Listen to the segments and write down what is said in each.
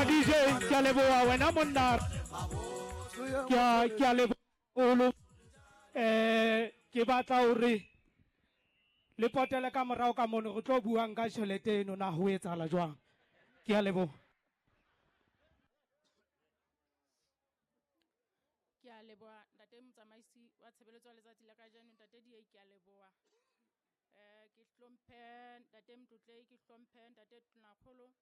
leboha DJ, ke a leboha wena monna. Ke a leboha. Ke batla hore le potele ka morao ka mono re tlo buang ka tjhelete eno na ho etsahala jwang. Ke a leboha. Ke a leboha ntate motsamaisi wa tshebeletso ya letsatsi la kajeno, ntate DA, ke a leboha. Ke hlomphe ntate Motlotlei, ke hlomphe ntate Tonakgolo,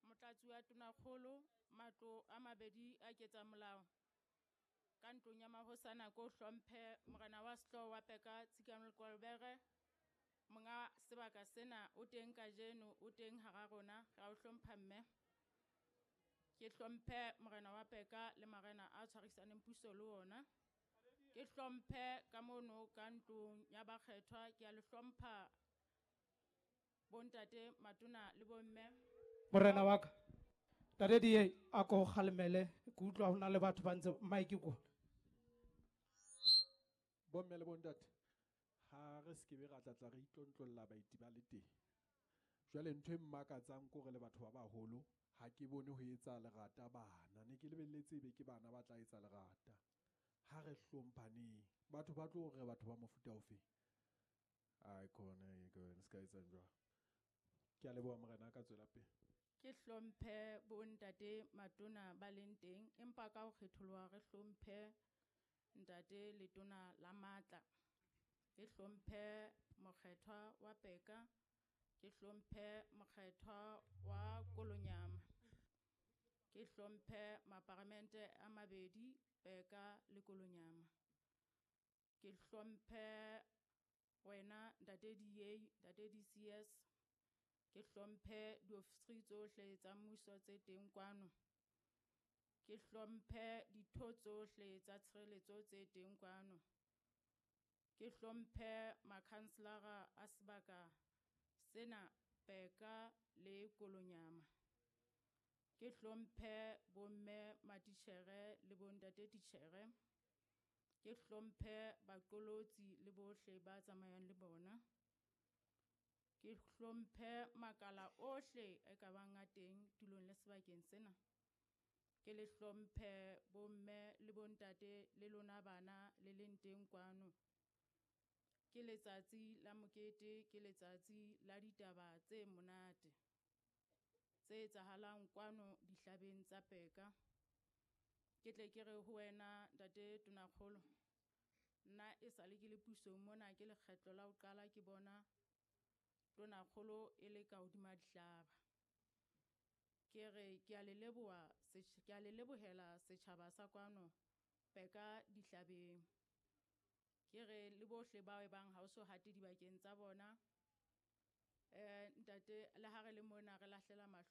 motlatsi wa Tonakgolo, matlo a mabedi a ketsa molao. Ka ntlong ya mahosana ko hlomphe morena wa sehlooho wa Peka Tshikano Lekwalobere, monga sebaka sena o teng kajeno, o teng hara rona, ra o hlompha mme. Ke hlomphe morena wa Peka le marena a tshwarisaneng puso le ona. Ke hlomphe ka mono ka ntlong ya bakgethwa, ke a le hlompha bontate matona le bomme. Morena wa ka, ntate DA a ko kgalemele, ke utlwa ho na le batho ba ntse mic ko. Bomme le bontate, ha re se ke be ra tla re itlontlolla baeti ba le teng. Jwale ntho e mmakatsang ke hore le batho ba baholo ha ke bone ho etsa lerata bana, ne ke lebelletse ebe ke bana ba tla etsa lerata. Ha re hlomphaneng, batho ba tlo re batho ba mofuta ofe? Ai khona e ke se ka etsang jwang. Ke a leboha morena ka tswela pele. Ke hlomphe bontate matona ba leng teng, empa ka ho kgetholoha re hlomphe ntate letona la matla. Ke hlomphe mokgethwa wa Peka, ke hlomphe mokgethwa wa Kolonyama. Ke hlomphe maparamente a mabedi, Peka le Kolonyama. Ke hlomphe wena ntate DA, ntate DCS. Ke hlomphe diofisiri tsohle tsa mmuso tse teng kwano. Ke hlomphe ditho tsohle tsa tshireletso tse teng kwano. Ke hlomphe makhanselara a sebaka sena Peka le Kolonyama. Ke hlomphe bomme matitjhere le bontate titjhere. Ke hlomphe baqolotsi le bohle ba tsamayang le bona. Ke hlomphe makala ohle e ka bang a teng tulong le sebakeng sena. Ke le hlomphe bomme le bontate le lona bana le leng teng kwano. Ke letsatsi la mokete, ke letsatsi la ditaba tse monate tse etsahalang kwano dihlabeng tsa Peka. Ke tle ke re ho wena ntate Tonakgolo, nna e sale ke le pusong mona, ke lekgetlo la ho qala ke bona Tonakgolo e le ka hodima dihlaba. Ke re ke a le leboha, ke a le lebohela setjhaba sa kwano Peka dihlabeng. Ke re le bohle bao e bang ha o so hate dibakeng tsa bona. Ntate, le ha re le mona re lahlela mahlo